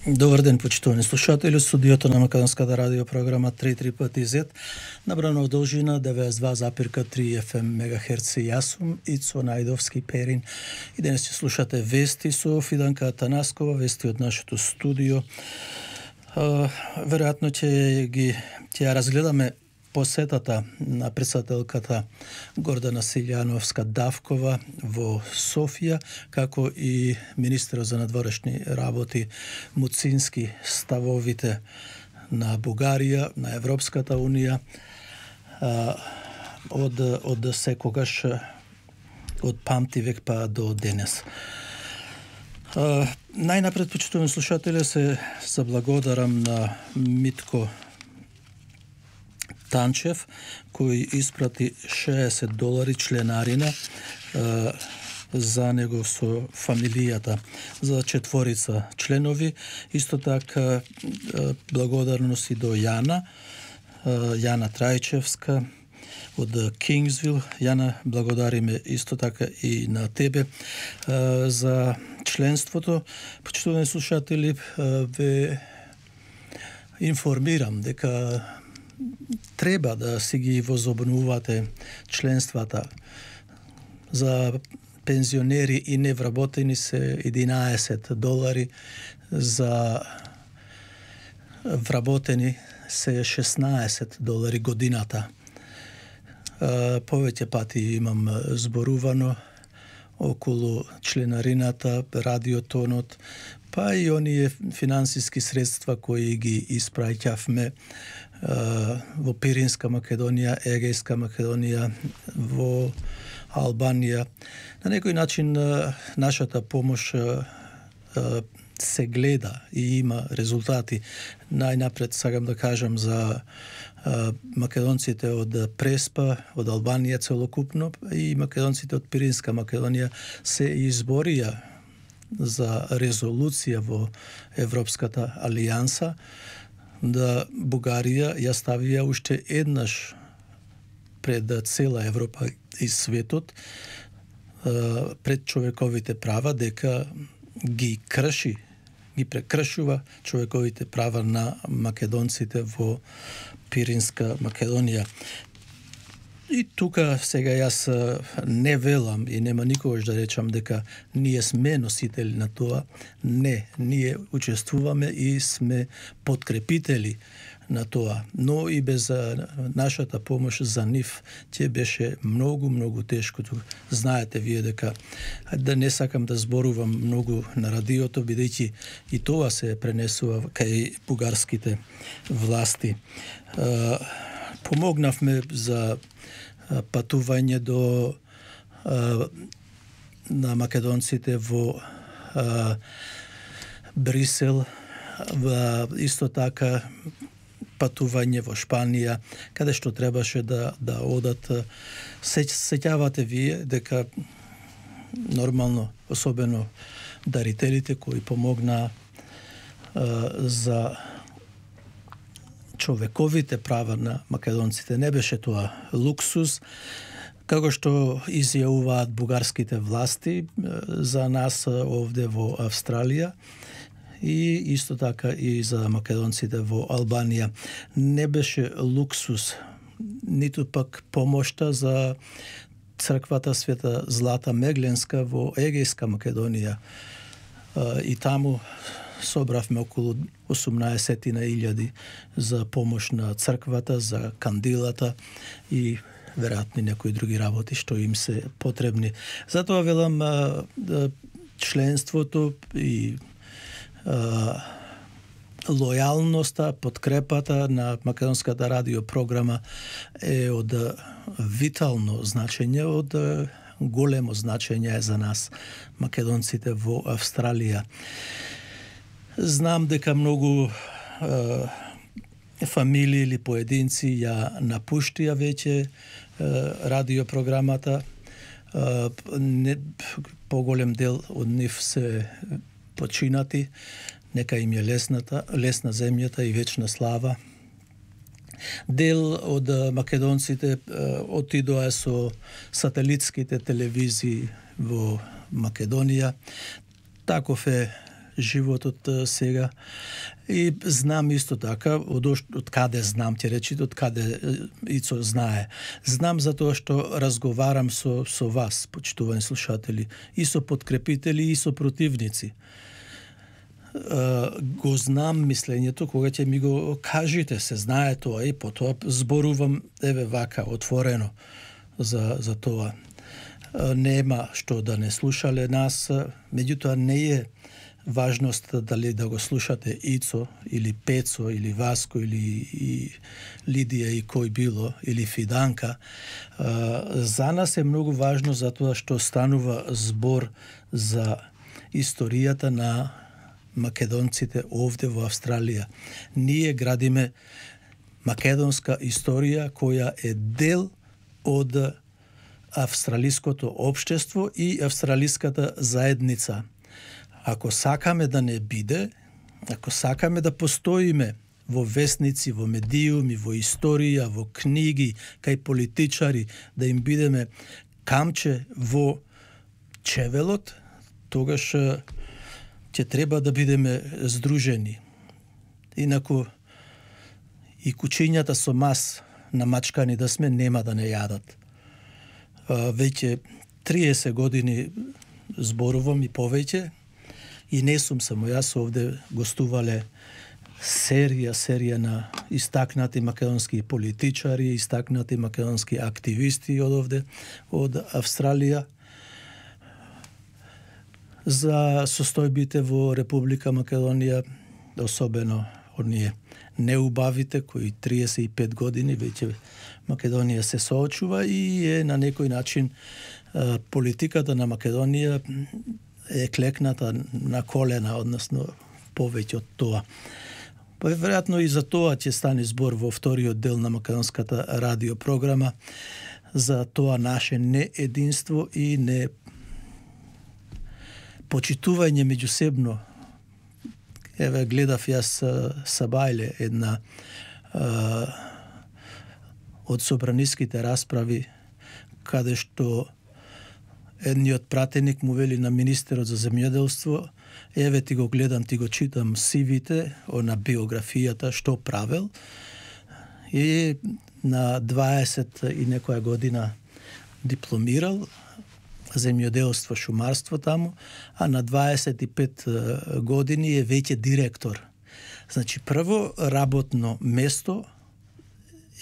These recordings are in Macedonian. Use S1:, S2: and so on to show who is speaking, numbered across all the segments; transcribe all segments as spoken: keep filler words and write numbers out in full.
S1: Добар ден, почитувани слушатели. Студиото на Македонската радио програма три три пати зет, набрана од должина деветдесет и два запирка три еф ем мегахерци. Јас сум Ицо Најдовски Перин и денес ќе слушате вести со Фиданка Атанаскова, вести од нашето студио. Веројатно ќе ги ќе ја разгледаме посетата на председателката Гордана Силјановска-Давкова во Софија, како и министерот за надворешни работи Муцински, ставовите на Бугарија, на Европската унија, од, од секогаш, од памтивек па до денес. Најнапред, почитувани слушатели, се заблагодарам на Митко Танчев, кој испрати шеесет долари членарина е, за него со фамилијата за четворица членови. Исто така е, благодарности до Јана, е, Јана Трајчевска од Кингсвил. Јана, благодариме исто така и на тебе е, за членството. Почитувани слушатели, е, ве информирам дека треба да си ги возобновувате членствата. За пензионери и невработени се единаесет долари, за вработени се шеснаесет долари годината. Повеќе пати имам зборувано околу членарината, радиотонот, па и оние финансиски средства кои ги испраќавме во Пиринска Македонија, Егејска Македонија, во Албанија. На некој начин нашата помош се гледа и има резултати. Најнапред сакам да кажам за македонците од Преспа, од Албанија целокупно, и македонците од Пиринска Македонија се изборија за резолуција во Европската алијанса, да Бугарија ја ставија уште еднаш пред цела Европа и светот пред човековите права, дека ги крши, ги прекршува човековите права на македонците во Пиринска Македонија. И тука сега јас не велам и нема никогаш да речам дека ние сме носители на тоа. Не, ние учествуваме и сме подкрепители на тоа. Но и без нашата помош за нив ќе беше многу, многу тешко. Знаете вие дека, да не сакам да зборувам многу на радиото, бидејќи и тоа се пренесува кај бугарските власти. Помогнавме за патување до а, на македонците во а, Брисел, во, исто така патување во Шпанија, каде што требаше да да одат. Се сеќавате вие дека нормално, особено дарителите кои помогнаа за човековите права на македонците. Не беше тоа луксус, како што изјавуваат бугарските власти за нас овде во Австралија и исто така и за македонците во Албанија. Не беше луксус, ниту пак помошта за црквата Света Злата Мегленска во Егејска Македонија. И таму собравме околу осумнаесет илјади за помош на црквата, за кандилата и веројатно некои други работи што им се потребни. Затоа велам членството и а, лојалноста, подкрепата на Македонската радио програма е од витално значење, од големо значење за нас, македонците во Австралија. Знам дека многу е, фамилии или поединци ја напуштија веќе е, радиопрограмата. Е, не, поголем дел од нив се починати. Нека им е лесната, лесна земјата и вечна слава. Дел од македонците отидоа со сателитските телевизии во Македонија. Таков е животот сега. И знам исто така, од, од каде знам, ќе речите, од каде Ицо знае. Знам затоа што разговарам со, со вас, почитувани слушатели, и со подкрепители, и со противници. Uh, го знам мислењето, кога ќе ми го кажете, се знае тоа и потоа зборувам еве вака отворено за за тоа. Uh, нема што да не слушале нас, меѓутоа не е важност дали да го слушате Ицо или Пецо или Васко или и Лидија и кој било или Фиданка. Uh, за нас е многу важно затоа што станува збор за историјата на македонците овде во Австралија. Ние градиме македонска историја која е дел од австралиското општество и австралиската заедница. Ако сакаме да не биде, ако сакаме да постоиме во весници, во медиуми, во историја, во книги, кај политичари, да им бидеме камче во чевелот, тогаш ќе треба да бидеме здружени. Инаку и кучињата со мас намачкани да сме, нема да не јадат. Веќе триесет години зборувам и повеќе, и не сум само јас, овде гостувале серија, серија на истакнати македонски политичари, истакнати македонски активисти од овде, од Австралија, за состојбите во Република Македонија, особено оние неубавите, кои триесет и пет години веќе Македонија се соочува и е на некој начин политиката на Македонија е клекната на колена, односно повеќе од тоа. Па веројатно и за тоа ќе стане збор во вториот дел на македонската радиопрограма, за тоа наше неединство и не почитување меѓусебно. Еве гледав јас Сабајле, една а, од собраниските расправи, каде што едниот пратеник му вели на министерот за земјоделство: еве ти го гледам, ти го читам сивите, на биографијата, што правел. И на дваесет и некоја година дипломирал земјоделство, шумарство таму, а на дваесет и пет години е веќе директор. Значи, прво работно место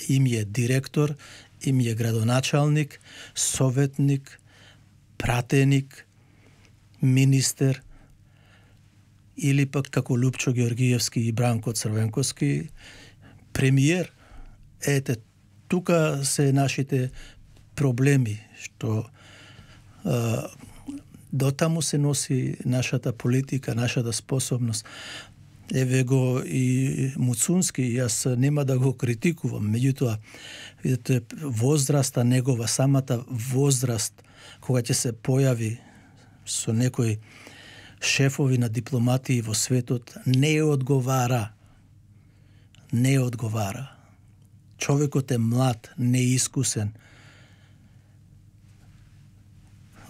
S1: им е директор, им е градоначалник, советник, пратеник, министер, или пак како Лупчо Георгиевски и Бранко Црвенковски, премиер. Ете, тука се нашите проблеми, што Uh, дотаму се носи нашата политика, нашата способност. Еве го и Муцунски, јас нема да го критикувам, меѓутоа, видите, возраста негова, самата возраст, кога ќе се појави со некои шефови на дипломатии во светот, не одговара. Не одговара. Човекот е млад, неискусен.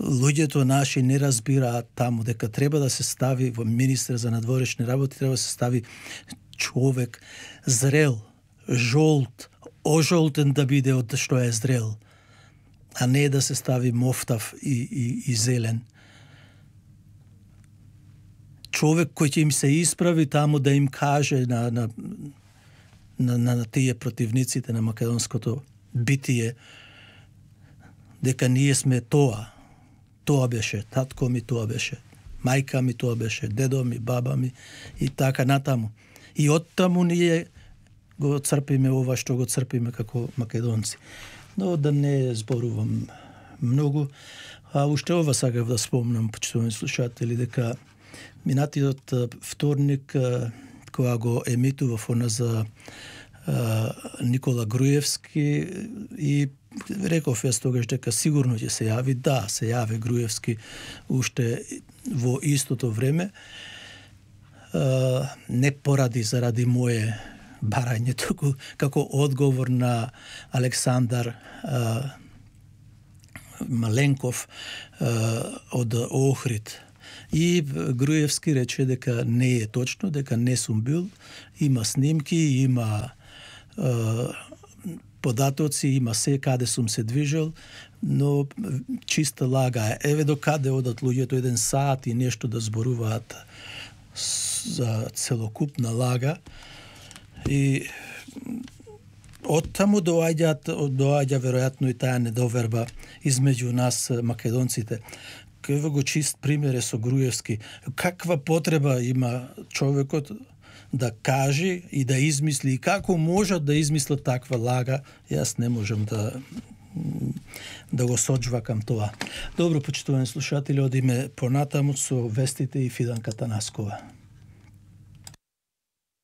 S1: Луѓето наши не разбираат таму дека треба да се стави во министер за надворешни работи, треба да се стави човек зрел, жолт, ожолтен да биде од што е зрел, а не да се стави мофтав и, и, и зелен. Човек кој ќе им се исправи таму да им каже на, на, на, на, на тие противниците на македонското битие дека ние сме тоа. Тоа беше, татко ми тоа беше, мајка ми тоа беше, дедо ми, баба ми и така натаму. И оттаму ние го црпиме ова што го црпиме како македонци. Но да не зборувам многу, а уште ова сакав да спомнам, почитувани слушатели, дека минатиот вторник, кога го емитував она за Никола Груевски, и реков јас тогаш дека сигурно ќе се јави. Да, се јави Груевски уште во истото време. Не поради заради моје барање, туку како одговор на Александар Маленков од Охрид. И Груевски рече дека не е точно, дека не сум бил. Има снимки, има е, податоци, има се каде сум се движел, но чиста лага. Еве до каде одат луѓето еден саат и нешто да зборуваат за целокупна лага. И од таму доаѓаат, доаѓа веројатно и таа недоверба измеѓу нас македонците. Кај го чист пример е со Груевски. Каква потреба има човекот да каже и да измисли, и како можат да измислат таква лага, јас не можам да да го соджвакам тоа. Добро, почитувани слушатели, одиме понатаму со вестите и Фиданка Танаскова.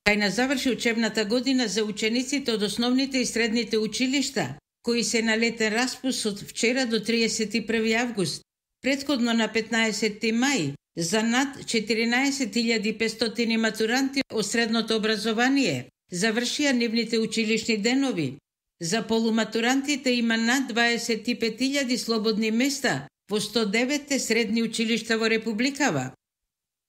S2: Кај заврши учебната година за учениците од основните и средните училишта, кои се на летен распуст од вчера до триесет и први август. Претходно на петнаесети мај, за над четиринаесет илјади и петстотини матуранти од средното образование завршија нивните училишни денови. За полуматурантите има над дваесет и пет илјади слободни места во сто девет средни училишта во Републикава.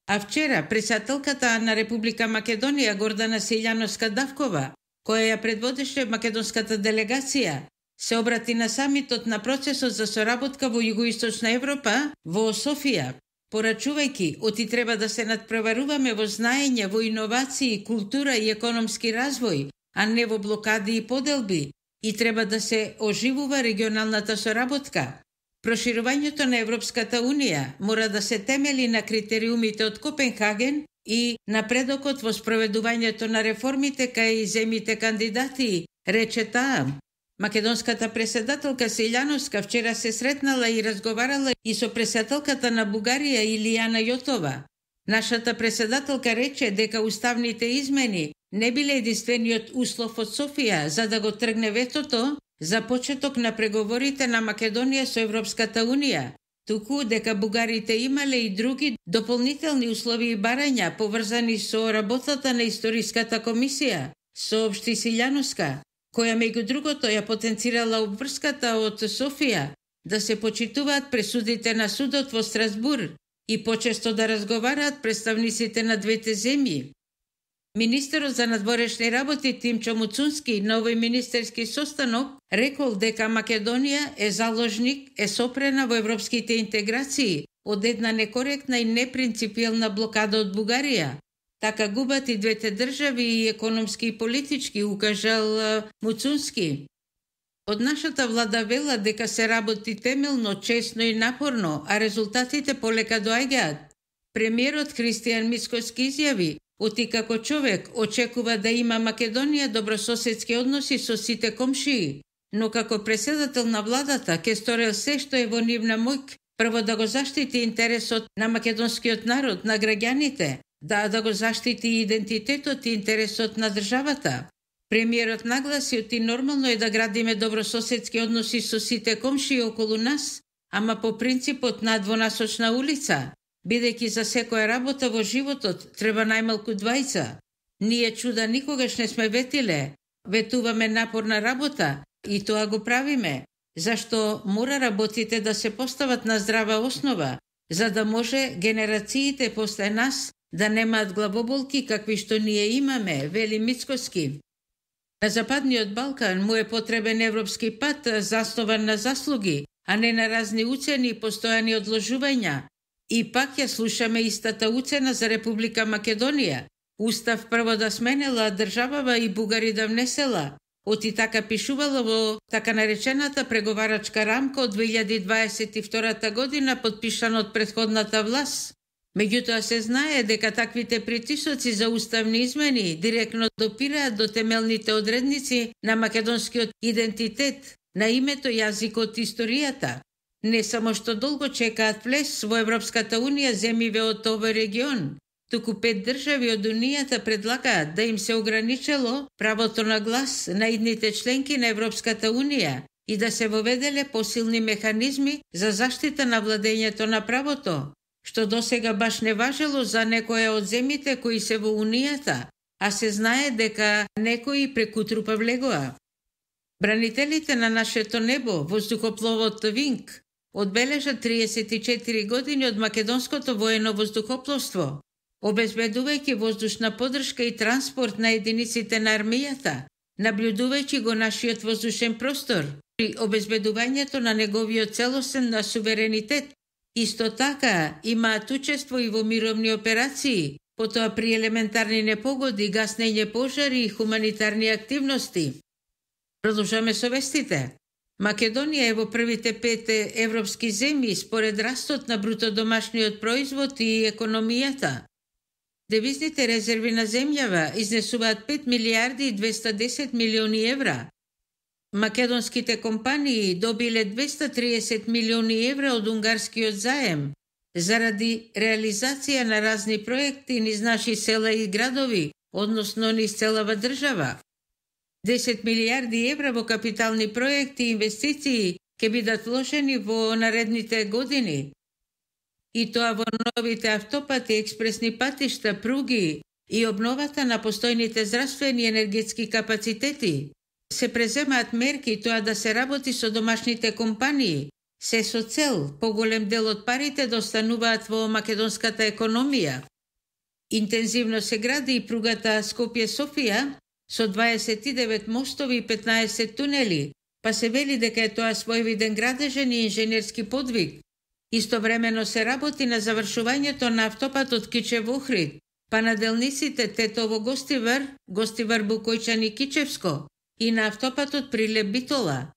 S2: А вчера председателката на Република Македонија Гордана Силјановска-Давкова, која ја предводеше македонската делегација, се обрати на самитот на процесот за соработка во Југоисточна Европа во Софија, порачувајќи оти треба да се надпреваруваме во знаење, во иновации, култура и економски развој, а не во блокади и поделби, и треба да се оживува регионалната соработка. Проширувањето на Европската Унија мора да се темели на критериумите од Копенхаген и напредокот во спроведувањето на реформите кај земјите кандидати, рече таа. Македонската председателка Силјановска вчера се сретнала и разговарала и со председателката на Бугарија Илијана Јотова. Нашата председателка рече дека уставните измени не биле единствениот услов од Софија за да го тргне ветото за почеток на преговорите на Македонија со Европската Унија, туку дека бугарите имале и други дополнителни услови и барања поврзани со работата на Историската комисија, соопшти Силјановска, која меѓу другото ја потенцирала обврската од Софија да се почитуваат пресудите на судот во Страсбур и почесто да разговараат представниците на двете земји. Министерот за надворешни работи Тимчо Муцунски на овој министерски состанок рекол дека Македонија е заложник, е сопрена во европските интеграции од една некоректна и непринципиелна блокада од Бугарија. Така губат и двете држави и економски и политички, укажал Муцунски. Од нашата влада вела дека се работи темелно, честно и напорно, а резултатите полека доаѓаат. Премиерот Христијан Мицкоски изјави: оти како човек очекува да има Македонија добрососедски односи со сите комшии, но како председател на владата ќе сторел се што е во нивна моќ, прво да го заштити интересот на македонскиот народ, на граѓаните, да да го заштити идентитетот и интересот на државата. Премиерот нагласи оти нормално е да градиме добрососедски односи со сите комшии околу нас, ама по принципот на двонасочна улица, бидејќи за секоја работа во животот треба најмалку двајца. Ние чуда никогаш не сме ветиле, ветуваме напорна работа и тоа го правиме, зашто мора работите да се постават на здрава основа, за да може генерациите после нас да немаат главоболки какви што ние имаме, вели Мицкоски. На Западниот Балкан му е потребен европски пат заснован на заслуги, а не на разни уцени и постојани одложувања. И пак ја слушаме истата уцена за Република Македонија. Устав прво да сменела државава и бугари да внесела. Оти така пишувало во така наречената преговарачка рамка од две илјади дваесет и втора година подпишана од претходната власт. Меѓутоа се знае дека таквите притисоци за уставни измени директно допираат до темелните одредници на македонскиот идентитет, на името, јазикот и историјата. Не само што долго чекаат влез во Европската Унија земјиве од овој регион, туку пет држави од Унијата предлагаат да им се ограничело правото на глас на идните членки на Европската Унија и да се воведеле посилни механизми за заштита на владењето на правото, што досега баш не важело за некоја од земјите кои се во Унијата, а се знае дека некои прекутрупа влегоа. Бранителите на нашето небо, воздухопловот Винг, одбележа триесет и четири години од македонското воено воздухопловство, обезбедувајќи воздушна поддршка и транспорт на единиците на армијата, наблюдувајќи го нашиот воздушен простор при обезбедувањето на неговиот целосен на суверенитет. Исто така имаат учество и во мировни операции, потоа при елементарни непогоди, гаснење пожари и хуманитарни активности. Продолжаме со вестите. Македонија е во првите пет европски земји според растот на бруто домашниот производ и економијата. Девизните резерви на земјава изнесуваат пет милиарди и двеста десет милиони евра. Македонските компании добиле двеста триесет милиони евра од унгарскиот заем заради реализација на разни проекти низ наши села и градови, односно низ целава држава. десет милиарди евра во капитални проекти и инвестиции ќе бидат вложени во наредните години. И тоа во новите автопати, експресни патишта, пруги и обновата на постојните здравствени и енергетски капацитети. Се преземаат мерки тоа да се работи со домашните компании, се со цел поголем дел од парите да остануваат во македонската економија. Интензивно се гради и пругата Скопје-Софија со дваесет и девет мостови и петнаесет тунели, па се вели дека е тоа своевиден градежен и инженерски подвиг. Истовремено се работи на завршувањето на автопатот Кичев-Охрид, па на делниците Тетово-Гостивар, Гостивар-Букојчани-Кичевско и на автопатот Прилеп-Битола.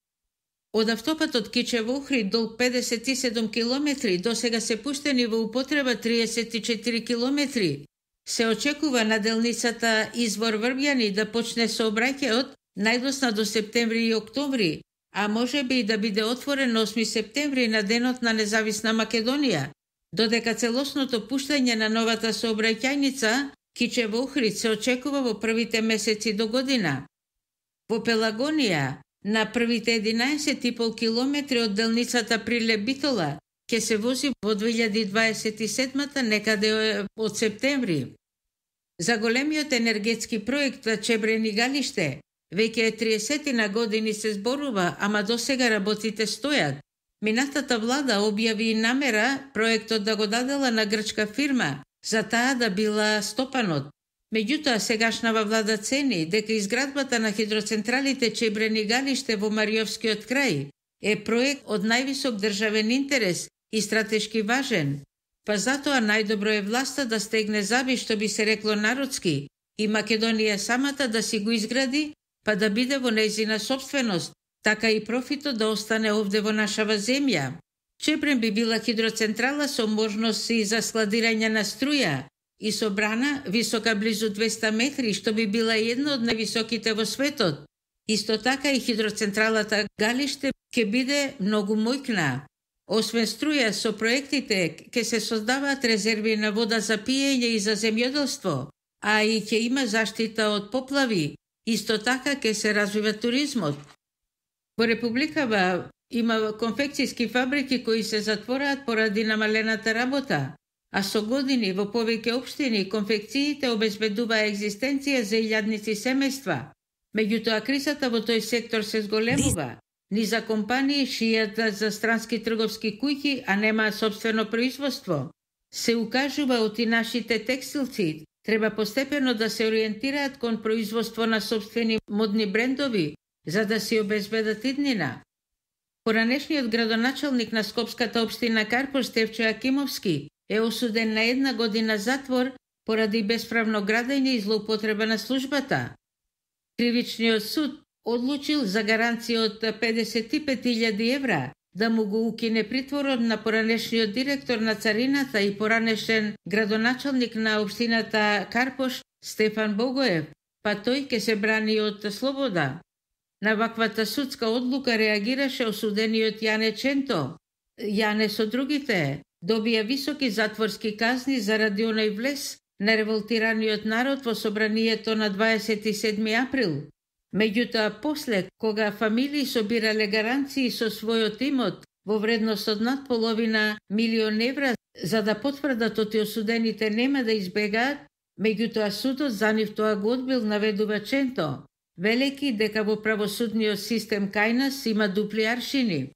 S2: Од автопатот Кичев-Охрид долг педесет и седум километри, досега се пуштени во употреба триесет и четири километри. Се очекува на делницата Извор Врбјани да почне сообраќајот најдосна до септември и октомври, а може би и да биде отворен осми септември на денот на независна Македонија, додека целосното пуштање на новата сообраќајница Кичев-Охрид се очекува во првите месеци до година. Во Пелагонија, на првите единаесет и пол километри од делницата Прилеп-Битола ќе се вози во две илјади дваесет и седма некаде од септември. За големиот енергетски проект Чебрени галиште веќе е триесет на години се зборува, ама досега работите стојат. Минатата влада објави намера проектот да го дадела на грчка фирма, за таа да била стопанот. Меѓутоа, сегашнава влада цени дека изградбата на хидроцентралите Чебрени галиште во Мариовскиот крај е проект од највисок државен интерес и стратешки важен, па затоа најдобро е власта да стегне заби, што би се рекло народски, и Македонија самата да си го изгради, па да биде во нејзина собственост, така и профитот да остане овде во нашава земја. Чебрен би била хидроцентрала со можности за складирање на струја и со брана висока близу двеста метри, што би била една од највисоките во светот. Исто така и хидроцентралата Галиште ќе биде многу мојкна. Освен струја, со проектите ќе се создаваат резерви на вода за пиење и за земјоделство, а и ќе има заштита од поплави. Исто така ќе се развива туризмот. Во Републикава има конфекцијски фабрики кои се затвораат поради намалената работа, а со години во повеќе општини конфекциите обезбедуваа екзистенција за илјадници семејства. Меѓутоа, кризата во тој сектор се зголемува. Ни за компании шијат за странски трговски куќи, а немаат собствено производство. Се укажува од и нашите текстилци треба постепено да се ориентираат кон производство на собствени модни брендови, за да си обезбедат иднина. Поранешниот градоначалник на Скопската општина Карпош Стефчо Јакимовски е осуден на една година затвор поради бесправно градење и злоупотреба на службата. Кривичниот суд одлучил за гаранција од педесет и пет илјади евра да му го укине притворот на поранешниот директор на царината и поранешен градоначалник на општината Карпош Стефан Богоев, па тој ќе се брани од слобода. На ваквата судска одлука реагираше осудениот Јане Ченто. Јане со другите добија високи затворски казни заради оној влез на револтираниот народ во собранието на дваесет и седми април. Меѓутоа, после, кога фамилии собирале гаранции со својот имот во вредност од над половина милион евра за да потврдат оти осудените нема да избегаат, меѓутоа судот за нив тоа го одбил, наведува Ченто, велеки дека во правосудниот систем кај нас има дупли аршини.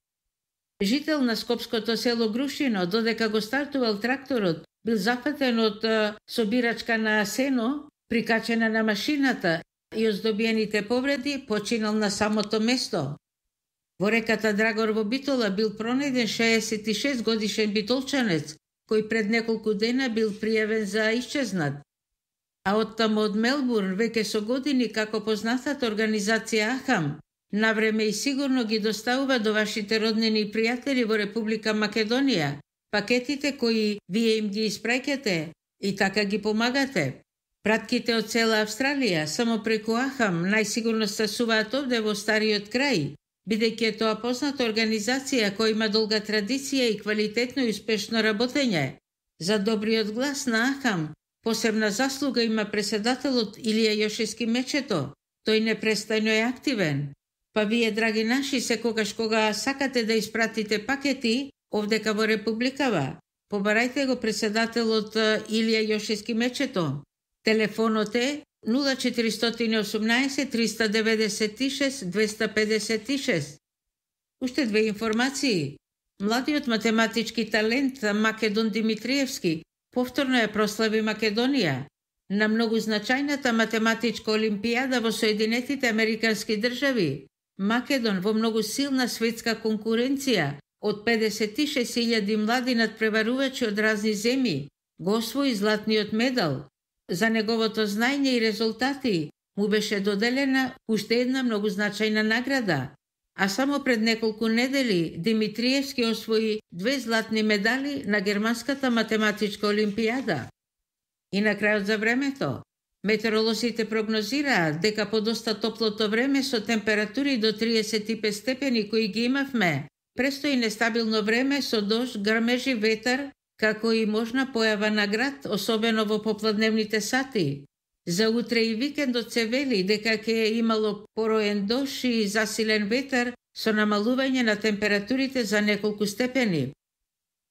S2: Жител на скопското село Грушино, додека го стартувал тракторот, бил зафатен од собирачка на сено, прикачена на машината и оздобиените повреди починал на самото место. Во реката Драгор во Битола бил пронајден шеесет и шест годишен битолчанец, кој пред неколку дена бил пријавен за исчезнат. А оттаму од Мелбурн веќе со години како познатата организација Ахам, навреме и сигурно ги доставува до вашите роднини и пријатели во Република Македонија пакетите кои вие им ги испраќате и така ги помагате. Пратките од цела Австралија само преку Ахам најсигурно стасуваат овде во стариот крај, бидејќи е тоа позната организација која има долга традиција и квалитетно и успешно работење. За добриот глас на Ахам посебна заслуга има преседателот Илија Јошевски Мечето. Тој непрестајно е активен. Па вие, драги наши, секогаш кога сакате да испратите пакети овдека во Републикава, побарајте го преседателот Илија Јошевски Мечето. Телефонот е нула четири осумнаесет триста деветдесет и шест двеста педесет и шест. Уште две информации. Младиот математички талент Македон Димитриевски повторно ја прослави Македонија на многу значајната математичка олимпијада во Соединетите Американски држави. Македон во многу силна светска конкуренција од педесет и шест илјади млади надпреварувачи од разни земји го освои златниот медал. За неговото знаење и резултати му беше доделена уште една многу значајна награда, а само пред неколку недели Димитриевски освои две златни медали на Германската математичка олимпијада. И на крајот за времето, метеоролозите прогнозираат дека по доста топлото време со температури до триесет и пет степени кои ги имавме, престои нестабилно време со дожд, грмежи, ветар, како и можна појава на град, особено во попладневните сати. За утре и викендот се вели дека ќе имало пороен дожд и засилен ветар со намалување на температурите за неколку степени.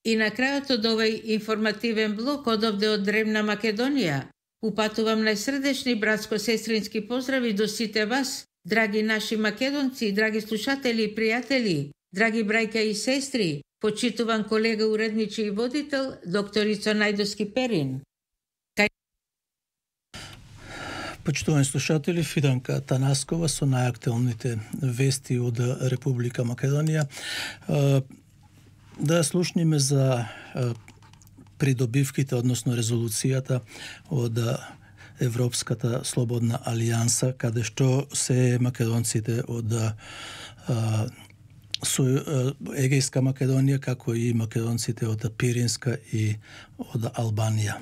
S2: И на крајот од овој информативен блок од овде од древна Македонија, упатувам најсрдечни братско-сестрински поздрави до сите вас, драги наши македонци, драги слушатели и пријатели, драги брајка и сестри, почитуван колега уредничи и водител, докторица Најдоски Перин. Кај...
S1: Почитувани слушатели, Фиданка Танаскова со најактуелните вести од Република Македонија. Да слушниме за придобивките, односно резолуцијата од Европската слободна алијанса, каде што се македонците од со Егејска Македонија, како и македонците од Пиринска и од Албанија.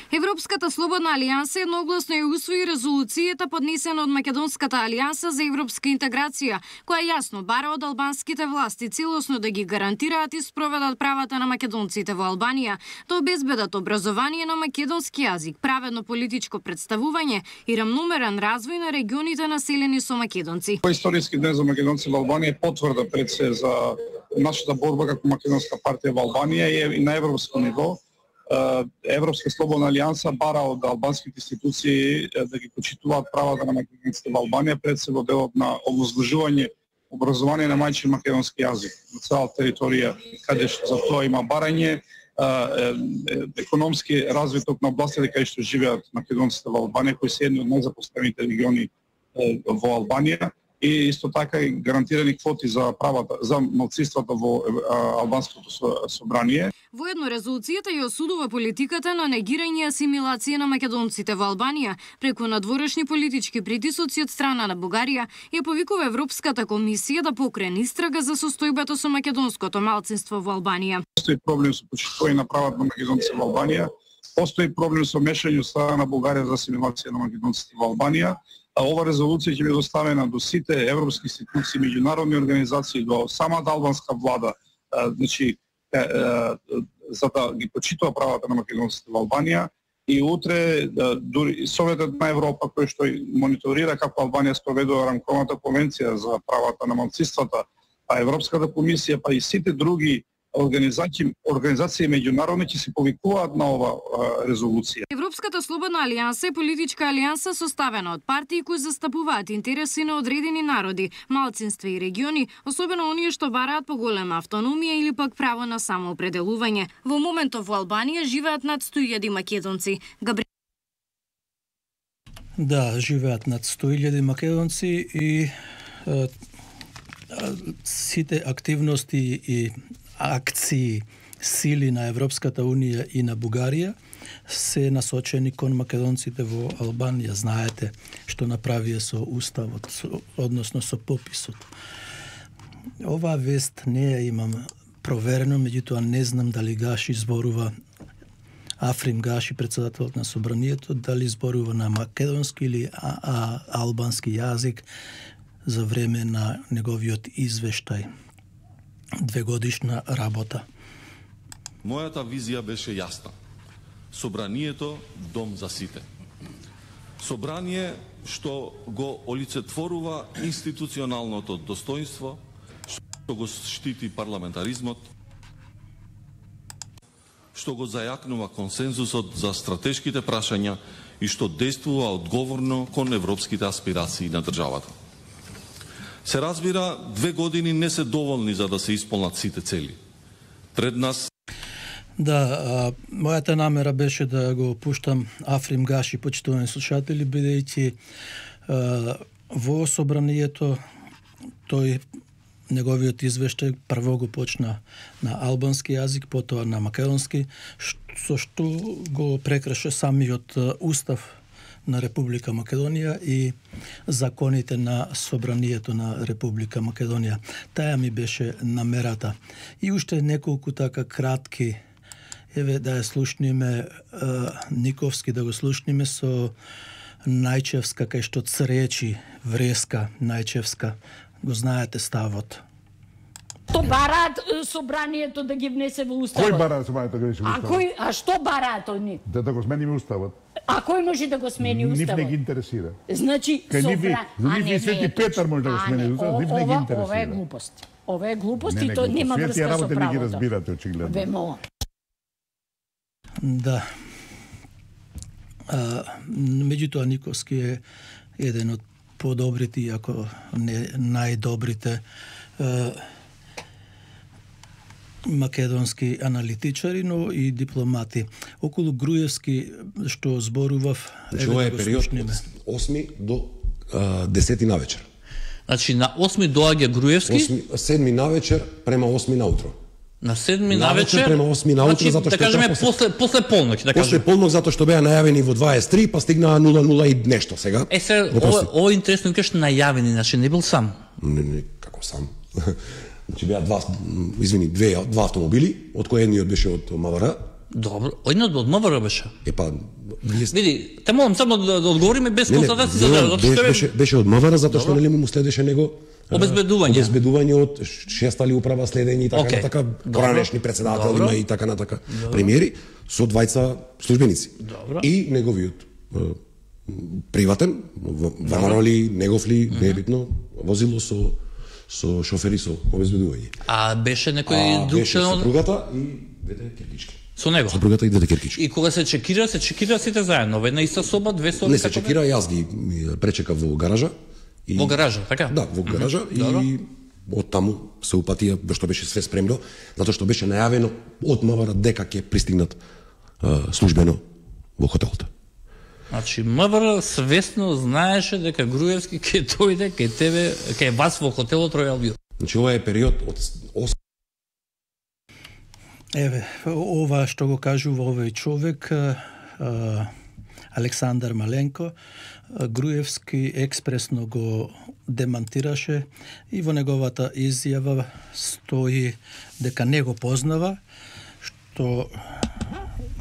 S3: Европската слободна алијанса едногласно ја усвои резолуцијата поднесена од Македонската алијанса за европска интеграција, која јасно бара од албанските власти целосно да ги гарантираат и спроведат правата на македонците во Албанија, да обезбедат образование на македонски јазик, праведно политичко представување и рамномерен развој на регионите населени со македонци.
S4: Историски ден за македонци во Албанија потврда пред се за нашата борба како македонска партија во Албанија и на европско ниво. Европска слободна алијанса бара од албанските институции да ги почитуваат правата на македонците во Албанија, пред се во делот на овозможување образование на мајчин македонски јазик на цела територија, каде што за тоа има барање, економски развиток на областите каде што живеат македонците во Албанија, кои се едни од најзапоставените региони во Албанија, и исто така и гарантирани квоти за правата за малцинствата во албанското собрание.
S3: Воедно резолуцијата ја осудува политиката на негирање и асимилација на македонците во Албанија преку надворешни политички притисоци од страна на Бугарија и повикува Европската комисија да покране истрага за состојбата со македонското малцинство во Албанија.
S4: Постои проблем со почитување на правата на македонците во Албанија, постои проблем со мешање од страна на Бугарија за асимилација на македонците во Албанија. А ова резолуција ќе биде доставена до сите европски институции, меѓународни организации, до самата албанска влада, значи за да ги почитува правата на македонците во Албанија. И утре дури Советот на Европа, кој што мониторира како Албанија спроведува рамковната конвенција за правата на малцинствата, а Европската комисија, па и сите други организации организации меѓународни ќе се повикуваат на ова резолуција.
S3: Европската слободна алијанса е политичка алијанса составена од партии кои застапуваат интереси на одредени народи, малцинства и региони, особено оние што бараат поголема автономија или пак право на самоопределување. Во моментов во Албанија живеат над сто илјади македонци. Габри...
S1: Да, живеат над сто илјади македонци и е, сите активности и акции, сили на Европската Унија и на Бугарија се насочени кон македонците во Албанија. Знаете што направија со уставот, со, односно со пописот. Оваа вест не ја имам проверено, меѓутоа не знам дали Гаши зборува, Африм Гаши, председателот на собранието, дали зборува на македонски или а, а, албански јазик за време на неговиот извештај. Двегодишна работа.
S5: Мојата визија беше јасна. Собранието дом за сите. Собрание што го олицетворува институционалното достоинство, што го штити парламентаризмот, што го зајакнува консензусот за стратешките прашања и што действува одговорно кон европските аспирации на државата. Се разбира, две години не се доволни за да се исполнат сите цели. Пред нас...
S1: Да, а, мојата намера беше да го пуштам Африм Гаши, почитувани слушатели, бидејќи во собранието тој неговиот извештај прво го почна на албански јазик, потоа на македонски, со што го прекраша самиот устав на Република Македонија и законите на собранието на Република Македонија. Таја ми беше намерата. И уште неколку така кратки, еве да ја слушниме Никовски, да го слушниме со Најчевска, кај што цречи вреска Најчевска. Го знаете ставот.
S6: Што бараат собранието да ги внесе во уставот?
S7: Кој бараат собранието да ги внесе во уставот?
S6: А кој, а што бараат они?
S7: Да, да го смениме уставот.
S6: А кој може да го смени уставот?
S7: Нив не ги интересира.
S6: Значи,
S7: Кај
S6: собра...
S7: нив и Свети Петар може да го смени уставот, нив не ги интересира.
S6: Ова е глупост. Ова е глупост
S7: не,
S6: и то нема врска со правото.
S7: Свети работи не ги разбирате, очигледно.
S6: Вемо.
S1: Да. А, меѓутоа Никовски е еден од подобрите, иако не најдобрите а, македонски аналитичари, но и дипломати. Околу Груевски, што зборував...
S8: Значи, ова е период од осми до десети навечер.
S9: Значи, на осми доаѓа Груевски?
S8: седми навечер према осми наутро.
S9: На седми навечер
S8: према осми наутро,
S9: значи,
S8: затоа што
S9: да кажеме
S8: после,
S9: после после полноќ, да
S8: после
S9: кажеме.
S8: полноќ затоа што беа најавени во дваесет и три, па стигнаа нула нула и нешто сега.
S9: Е се ова, ова е интересно, кажеш најавени, значи не бил сам.
S8: Не, не, како сам. Значи беа два, извини, две два автомобили, од кои едниот беше од МВР.
S9: Добро, едниот од МВР беше.
S8: Е па вие
S9: види, те молам само да, да одговориме без констатација за да,
S8: беше, беше беше од МВР затоа што нели му следеше него
S9: обезбедување.
S8: Обезбедување од шестали управа следење и така okay. така поранешни председатели има и така на така премиери со двајца службеници. Добро. И неговиот приватен ВМРО-ли, негов ли, не е битно, возило со со шофери со обезбедување.
S9: А беше некој друг
S8: член од сопругата и двете керкички.
S9: Со него.
S8: Сопругата и двете керкички.
S9: И кога се чекира, се чекира сите заедно, во една иста соба, две соби.
S8: Не се чекира, јас ги пречекав во гаража.
S9: И... Во гаража, така?
S8: Да, во гаража mm-hmm. и од таму се упатија, што беше све спремно, затоа што беше најавено од МВР дека ќе пристигнат а, службено во хотелот.
S9: Значи МВР свесно знаеше дека Груевски ќе дојде кај тебе, кај вас во хотелот Ројал Вил.
S8: Значи ова е период од осем.
S1: Еве, ова што го кажува овој човек, а, Александар Маленко, Груевски експресно го демантираше и во неговата изјава стои дека не го познава, што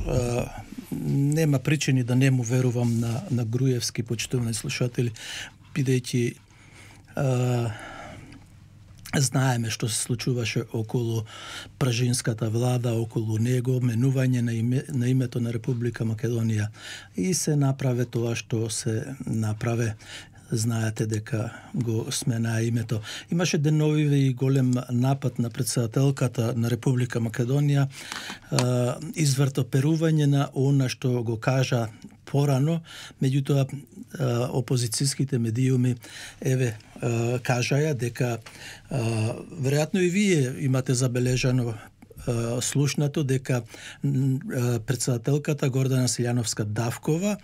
S1: а, нема причини да не му верувам на, на Груевски, почитувани слушатели, бидејќи знаеме што се случуваше околу пражинската влада, околу него, менување на, име, на името на Република Македонија и се направе тоа што се направе. знаете дека го смена името. Имаше деновиве и голем напад на председателката на Република Македонија, извртоперување на она што го кажа порано, меѓутоа опозицијските медиуми еве кажаја дека веројатно и вие имате забележано слушнато дека председателката Гордана Силјановска-Давкова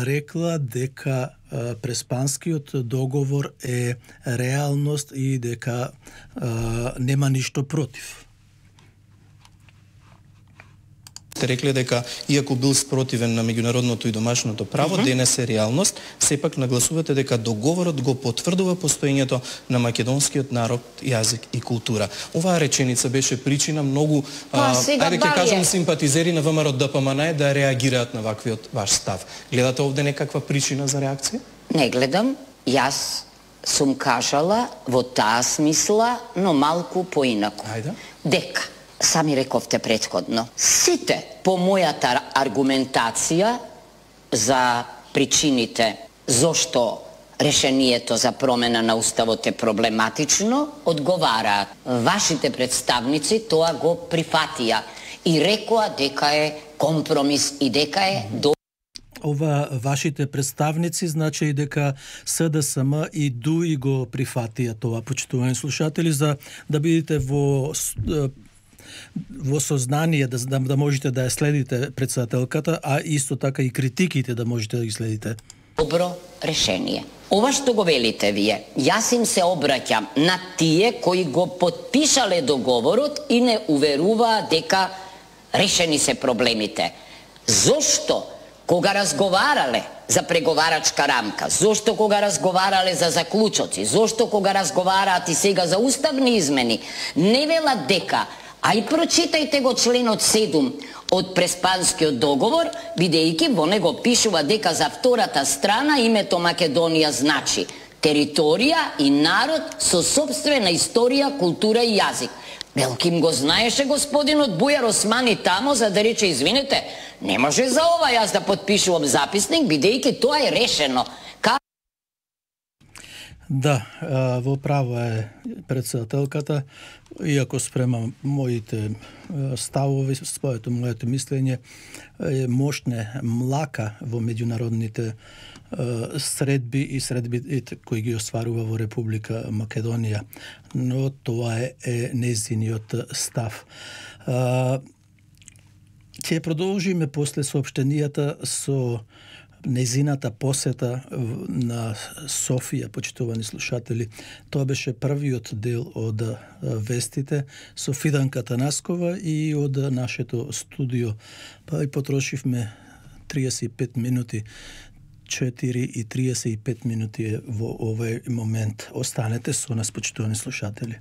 S1: рекла дека Преспанскиот договор е реалност и дека нема ништо против.
S10: Сте рекле дека, иако бил спротивен на меѓународното и домашното право, uh -huh. денес е реалност, сепак нагласувате дека договорот го потврдува постоењето на македонскиот народ, јазик и култура. Оваа реченица беше причина многу, а, ајде ќе кажам, симпатизери на ВМРО Д П М Н да реагираат на ваквиот ваш став. Гледате овде некаква причина за реакција?
S11: Не гледам. Јас сум кажала во таа смисла, но малку поинаку.
S10: Ајде.
S11: Дека сами рековте претходно. Сите по мојата аргументација за причините зошто решението за промена на уставот е проблематично, одговараат. Вашите представници тоа го прифатија и рекоа дека е компромис и дека е до
S1: Ова вашите представници значи и дека С Д С М и Д У И го прифатија тоа, почитувани слушатели, за да бидете во во сознание да, да, да можете да ја следите председателката, а исто така и критиките да можете да ги следите.
S11: Добро решение. Ова што го велите вие, јас им се обраќам на тие кои го потпишале договорот и не уверуваа дека решени се проблемите. Зошто кога разговарале за преговарачка рамка, зошто кога разговарале за заклучоци, зошто кога разговараат и сега за уставни измени, не велат дека, ај прочитајте го членот седум од Преспанскиот договор, бидејќи во него пишува дека за втората страна името Македонија значи територија и народ со сопствена историја, култура и јазик. Белким го знаеше господинот Бујар Османи тамо за да рече извинете, не може за ова јас да потпишувам записник, бидејќи тоа е решено. Ка...
S1: Да, во право е председателката, иако спрема моите ставови, своето моето мислење е мощне млака во меѓународните средби и средби кои ги остварува во Република Македонија, но тоа е, е незиниот став. Ќе продолжиме после соопштенијата со незината посета на Софија, почитувани слушатели. Тоа беше првиот дел од вестите со Фиданка Танаскова и од нашето студио. Па и потрошивме триесет и пет минути. четири и триесет и пет минути е во овој момент. Останете со нас, почитувани слушатели.